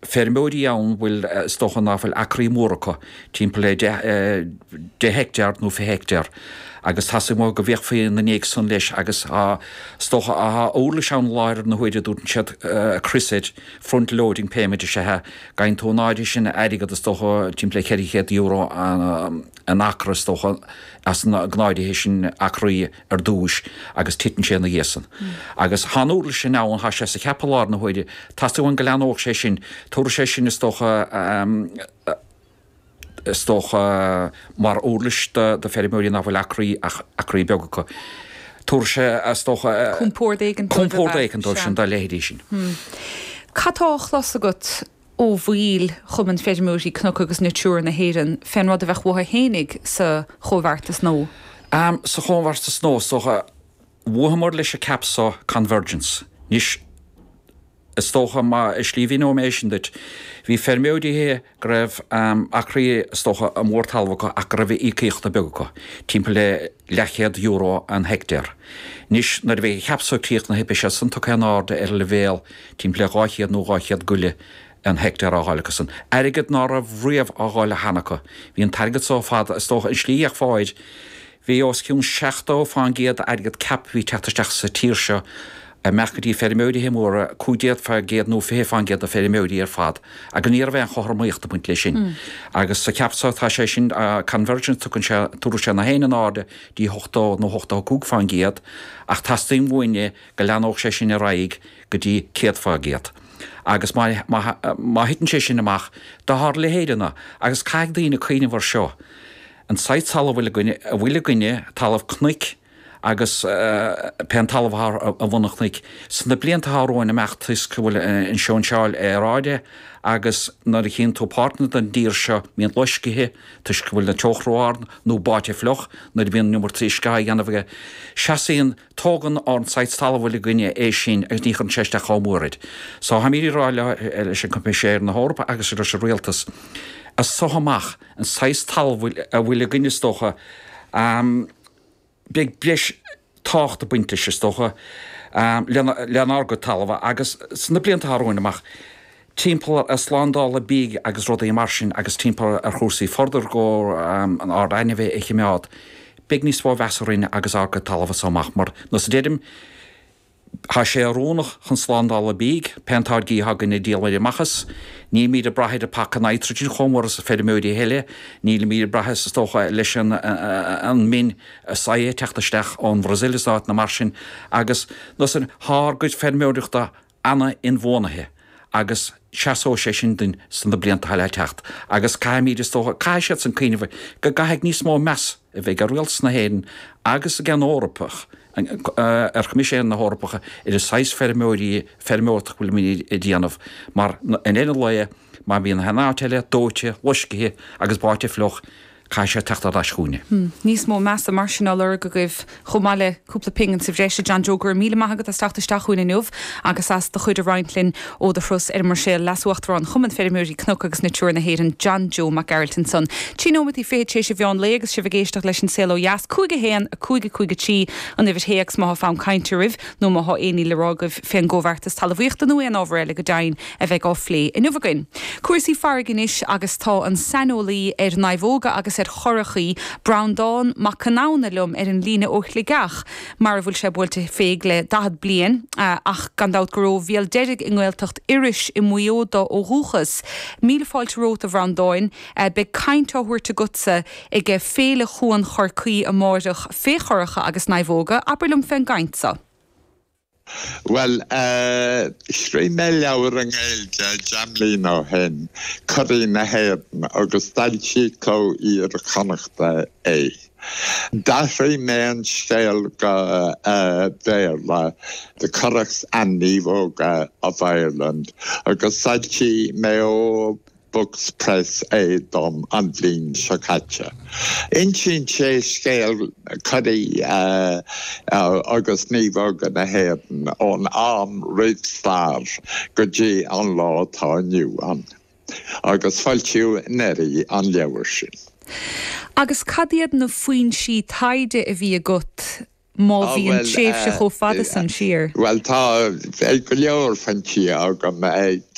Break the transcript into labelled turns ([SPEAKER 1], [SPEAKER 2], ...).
[SPEAKER 1] Feirmeoirí ann bhfuil, is dócha ná fuil acraí móra acu, timpeall le 10 heicteár nó 20 heicteár, agus teastaíonn uathu go bhféachfaí ina ndiaidh san leis agus tá, is dócha, tá uirlis ann i láthair na huaire a dtugann siad crios air, front loading payment is ea é, go bhfaigheann tú an áirithe sin airgead, is dócha, timpeall le €400 an acra, is dócha, as an áirithe sin acraí. ar dtúis agus titeann sé ina dhiaidh san. Agus thá an uirlis sin ann, thá sé sa CAP i láthair na huaire. Teastaíonn uainn go leathnódh sé sin. Tabharfaidh sé sin, is dócha, is dócha, mar uirlis do feirmeoirí ná fuil acraí ach acraí beaga acu. Tabharfaidh sé, is dócha,
[SPEAKER 2] Compord éigin dóibh,
[SPEAKER 1] compord éigin dóibh sin, dá leithéidí sin.
[SPEAKER 2] Cad tá á chlos agat ó bhaill Chumann Feirmeoirí Cnoc agus Natura na hÉireann fén rud a bheadh uathu fhéinig sa chomhbheartas nua?
[SPEAKER 1] Sa chomhbheartas nua, is dócha, mhothaíomar leis an CAP so convergence. Anois, is dócha, má, i slí mhíneoidh mé é sin duit, bhí feirmeoirí go raibh acraí, is dócha, mór talamh acu ach go raibh íocaíochtaí beaga acu, timpeall le leathchéad euro an heictéar. Anois, nuair a bheidh an CAP so críochnaithe, beidh sé san tugtha in airde ar an leibhéal timpeall le 200 nó 200 go leith an heictéar á dháileadh acu san. Airgead ná raibh riamh á dháileadh cheana acu. Bhí an t-airgead so fada, is dócha, an slí a fhéachfá air, bhí os cionn 70% d'airgead CAP a bhí ag teacht isteach sa tír seo amach go dtí feirmeoirithe móra, 15% nó 20% de feirmeoirí ar fad, agus ní raibh aon chothromaíocht ag baint leis sin. Agus sa CAP so tá sé sin, convergence, tugann sé, tabharfaidh sé na haon in airde dtí 80 nó 85%, ach teastaíonn uainne go leathnódh sé sin ar aghaidh go dtí 100%. Agus má, má, má thiteann sé sin amach, do ár leithéideanna, agus caithfidh daoine cuimhneamh ar seo, an saghas talamh a bhfuil againne, a bhfuil againne, talamh cnoic agus pé an talamh atá ar bhun an chnoic, sna blianta atá romhainn amach toisc go bhfuil an seoinseáil aeráide agus nuair a chíonn tú páirteanna den dtír seo mbíonn loiscithe toisc go bhfuil an teocht ró-ard nó báite fliuch nuair a bhíonn an iomarca uisce á dhéanamh aige, seasaíonn, tógann ár saghas talamh a bhfuil againne é sin agus ní chuireann sé isteach chomh mór air. So táimid ag rá leis an Coimisinéir na hEorpa agus leis an Rialtas, as so amach, an saghas talamh a bhfuil againn is dócha, beidh breis tábhacht ag baint leis is dócha, lenár gcuid talaimh agus sna blianta atá romhainn amach, timpeall ar slándála bídh agus rudaí mar sin agus timpeall ar chúrsaí further go ár ainmhithe a chimeád, beidh níos mó mheas orainn agus ár gcuid talamh as so amach mar, nós a deirim, Tá sé oiriúnach chun slándála bídh, pé an táirgí atá againn a díol ar amach as. Nílimid ag brath ar an paca nitrogen chomh mór is feirmeoirí eile. Nílimid ag brath is dócha leis an min soya ag teacht isteach ón Bhrasaíl is áiteanna mar sin agus nós tá ár gcuid feirmeoireachta ana-inbhuanaithe agus seasóidh sé sin duinn sna blianta atá le teacht agus caithfimid is dócha, caithfidh siadsan cuimhneamh go gcaithfidh níos mó meas a bheith ag Rialtas na hÉireann agus ag an Eorpach, ar Choimisinéir na hEorpacha ar an saghas feirmeoirí, feirmeoireacht a bhfuilimid a déanamh mar i ndeireadh an lae má bhíonn an áit eile dóite, loiscithe agus báite fliuch, caithfidh sé teacht ar ais chugainne.
[SPEAKER 2] Níos mó measa mar sin á lorg agaibh, chomh maith le cúpla pingin sa bhreis. A John Joe, go raibh míle maith agat as teacht isteach chugainn inniu agus as do chuid a roinnt linn ó do thuras ar an mBruiséil. Leas-Uachtarán Chumann Feirmeoirí Cnoc agus Natura na hÉireann, John Joe Mac Gearailt ansan. Trí nóimeataí fichead tar éis an mheán lae agus sibh ag éisteacht leis An Saol Ó Dheas. 5 1 5 5 3 an uimhir théacs má thá fonn cainte oraibh nó má thá aon ní le rá agaibh fén gcomhbheartas talmhaíochta nó aon ábhar eile go deimhin. a bheidh á phlé inniu againn. Cúrsaí farraige anois agus tá an saineolaí ar naomhóga agus ar churachaí, Breandán Mac Conamhna liom ar an líne ó Shligeach, mar a bhfuil sé buailte féig le 40 bliain, ach gan dabht gur ó Bhéal Deirg i nGaeltacht Iorrais i Maigh Eo dó ó dhúchas. Míle fáilte romhat a Bhreandáin. Beidh caint á thabhairt agatsa ag Féile Chuan Chorcaí amáireach fé churacha agus naomhóga. Abair liom fén gcaint so.
[SPEAKER 3] Bhuel, scríobh mé leabhar i nGaeilge deich mbliana ó shin, Curaí na hÉireann, agus d'fhoilsigh Cló Iar-Chonnachta é. D'athraigh mé an scéal go Béarla, The Curraghs and Naomhóga of Ireland, agus d'fhoilsigh Mayo Books Press é dom an bhliain seo caite. Insíonn sé scéal curaí agus naomhóga na hÉireann ón am roimh stair go dtí an lá atá inniu ann, agus foilsíodh anuraidh an leabhar sin.
[SPEAKER 2] Agus cad iad na foinsí taighde a bhí agat? Má bhíonn tréimhse chomh fada san siar.
[SPEAKER 3] Bhuel, tá go leor foinsí agam.